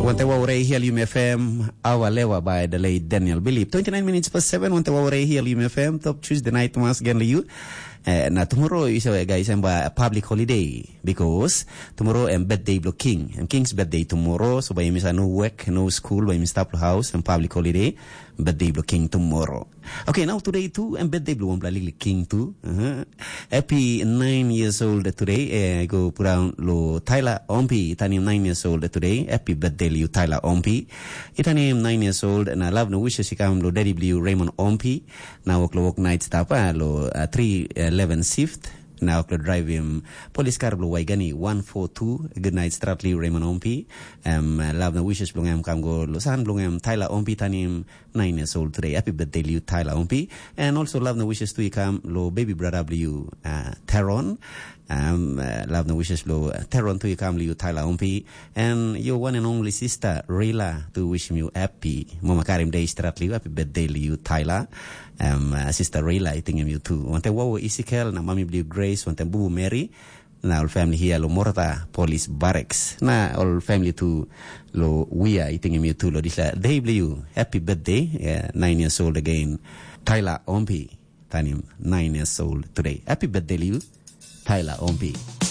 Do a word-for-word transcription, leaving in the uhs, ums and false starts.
Wante wa urei hial Yumi F M, awa lewa by the late Daniel Bilip. Twenty-nine minutes past seven, wante wa urei hial Yumi F M, top Tuesday night mas gen liu. Eh, na tomorrow is a guys and by a public holiday because tomorrow and birthday blo king. And king's birthday tomorrow, so by Miss no work, no school, by Miss Taplo house and public holiday, birthday blo king tomorrow. Okay, now today too, and birthday blo one liklik king too. Uh-huh. Happy nine years old today. Eh, go put down lo Tyler Ompi, tanim nine years old today. Happy birthday liu Tyler Ompi. Itanim nine years old, na love no wishes ikam lo daddy bliu Raymond Ompi. Na wok lo wok night stop, ah, lo uh, three eleven shift. Na wok lo drive him police car blo Waigani one four two. Good night strat liu Raymond Ompi. Um, love no wishes blong em kam go lo san blong em Tyler Ompi tanim nine years old today. Happy birthday liu Tyler Ompi. And also love no wishes tu ikam lo baby brother bliu uh, Teron. Um, uh, love no wishes lo uh, Teron tu ikam liu Tyler Ompi. And your one and only sister Rila tu wishim you happy. Mama karim day strat liu happy birthday liu Tyler. Um, uh, sister Rila I tingim you too. Wante wawo Isikel na mami bliu Grace, wante bubu Mary. Na ol family hia lo Morata Police Barracks. Na ol family tu lo Wia I tingim you too lo disla. Day bliu happy birthday. Yeah, nine years old again. Tyler Ompi. Tanim nine years old today. Happy birthday liu. Tyler Ompi.